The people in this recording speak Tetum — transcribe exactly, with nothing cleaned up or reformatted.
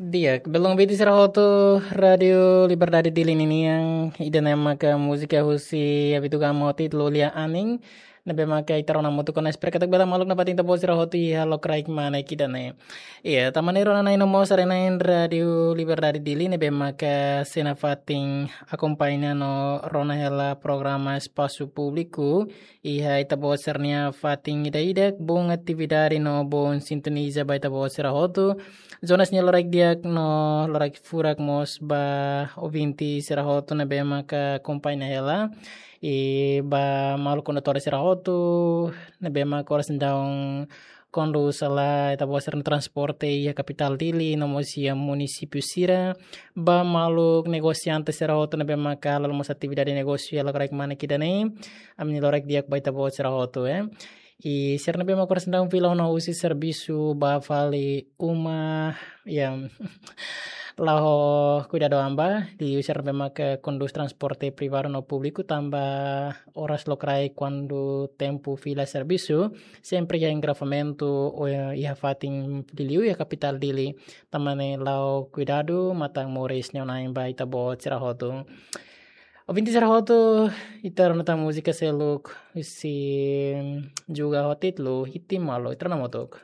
Di'ak, belun ouvinte sira hotu Rádio Liberdade Dili ninian, ida-ne'e maka múzika husi Abituga Moti Lolia Aning, ne'ebé maka ita rona hamutuk ona, espera katak bele maluk nafatin ita-boot sira hotu iha lokraik kmanek ida-ne'e. Iya, tanba ne'e rona-na'in no mós haree-na'in Rádio Liberdade Dili ne'ebé maka sei nafatin akompaña no rona hela programa Espasu Públiku iha ita-boot sira-nia fatin ida-idak, boon atividade no boon sintoniza ba ita-boot sira hotu. Jonas nia loraik di'ak no loraik furak mós ba ouvinte sira hotu ne'ebé maka akompaña hela. I ba maluk kondutór sira hotu ne'ebé maka oras ne'e daudaun kondús hela ita-boot sira-nia transporte iha kapitál Dili no mós iha munisípiu sira. Ba maluk negosiante sira hotu ne'ebé maka halo mós atividade negósiu iha lokraik kmanek ida-ne'e, ami-nia loraik di'ak ba ita-boot sira hotu, eh. I sira ne'ebé maka oras ne'e daudaun fila ona husi servisu ba fali uma, ya, la'o kuidadu an ba, liuliu sira ne'ebé maka kondús transporte privadu no públiku, tanba oras lokraik kuandu tempu fila servisu sempre iha engarrafamentu, ou iha fatin liuliu iha kapitál Dili, tanba ne'e la'o kuidadu, matan moris neon-na'in ba ita-boot sira hotu. Ouvinte sira hotu, ita rona tan múzika seluk husi Juga ho títulu Hitimalu, ita rona hamutuk.